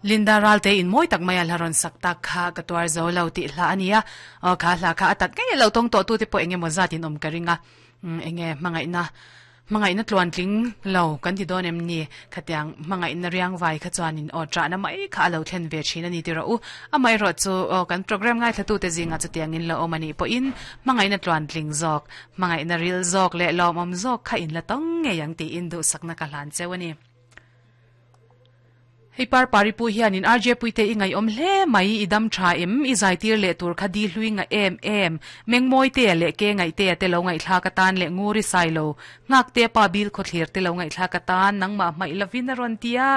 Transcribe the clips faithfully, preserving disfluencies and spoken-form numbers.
Linda Ralte in moi tak mai a hlaron sak tak kha ka tuar zo lo ti hla ania o kha hla kha atat nge lo tong to tu te po enge mo zat in om ka ringa enge mangai na mangai na tluan tling lo kan ti don em ni khatiang mangai na riang vai kha chuan in o tra na mai kha lo thlen ve thin ani ti ro u amai ro chu o kan program ngai thatu te zinga chu tiang in lo omani po in mangai na tluan tling zok mangai na ril zok le lom om zok kha in la tong nge yang ti in du sakna ka hlan chewani. Hei par pari pu hian in R J puite ingai om hle mai idam tha em i zai tir le tur khadi hlui nga em em mengmoi te le ke ngai te te lo ngai thla ka tan le nguri sai lo ngak te pa bil kho thlir te lo ngai thla ka tan nang ma mai lavin ron tia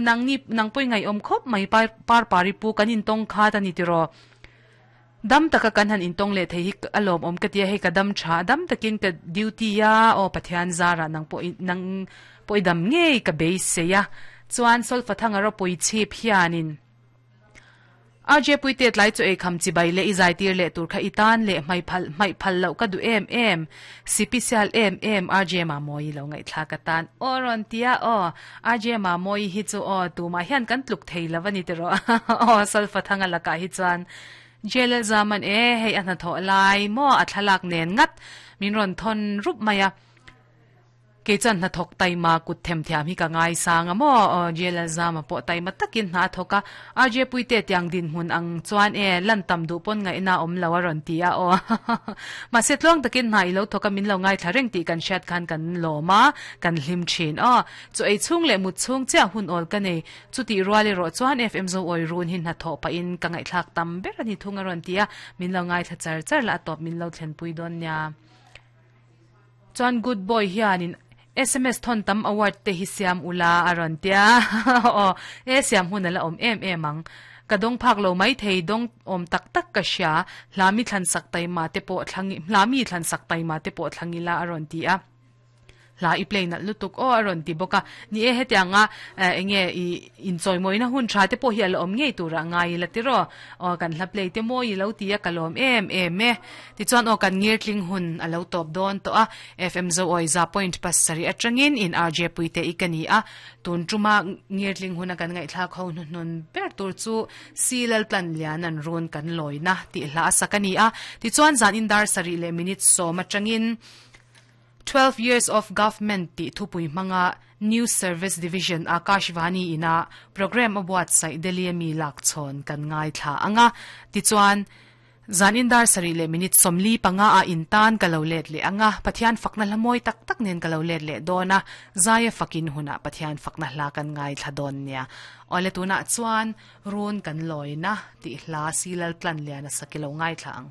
nang ni nang poi ngai om khop mai par par pari pu kanin tong kha ta ni tiro dam taka kan han in tong le thei hi alom om ka tia hei ka dam tha dam takin ka duty ya o Pathian zara nang po nang poi dam nge ka be se ya chuan sol fathanga ro pui chip hianin R J puite tlai chu ei kham chi bai le i zai tir le tur kha itan le mai phal mai phal lo ka du em em cpcl em em R J ma moi lo ngai thla ka tan oron tia o R J ma moi hi chu o tu ma hian kan tluk thei lawani te ro o sol fathanga laka hi chuan jel zaman e hei an tho lai mo a thalak nen ngat min ron thon rup maya ke chan na thok tai ma kut them thiam hi ka ngai sanga mo jel zama po tai ma takin na thoka R J puite tiang din hun ang chuan e lan tam du pon ngai na om lawa ron tia o ma se tlong takin na ilo thoka min lo ngai thareng ti kan shat khan kan loma kan hlim thin o chu ei chung le mu chung cha hun ol ka nei chu ti ruali ro chuan F M zo oi run hin na tho pa in ka ngai thlak tam ber ani thunga ron tia min lo ngai tha char char la top min lo thlen pui don nya chuan good boy hianin S M S thon tam award te hi siam ula aron tia o e siam hun ala om em em ang kadong phak lo mai thei dong om tak tak ka sha hlami thlan sak tai ma te po thlangi hlami thlan sak tai ma te po thlangila aron tia la i play na lutuk o aron ti boka ni e hetianga enge i in choi moina hun tha te po hi ala om ngei tura ngai la tiro o kan hla play te moi lo tia kalom em em e ti chuan o kan ngir tling hun alo top don to a F M zo oi za point pas sari atangin in R J puite ikani a tun tuma ngir tling hun kan ngai thla kho nun nun ber tur chu silal plan lian an run kan loina ti hla sakani a ti chuan zan in dar sari le minutes so matangin twelve years of government ti thupui manga News Service Division Akashvani ina program abuat sai Delhi mi lak chon kan ngai thla anga ti chuan zan indar sari le minute somli panga a intan kalolet le anga Pathian fakna lamoi tak tak nen kalolet le dona zaya fakin huna Pathian fakna hla kan ngai thla don nia ole tuna chuan run kan loina ti hla silal tlan liana sakilo ngai thla ang.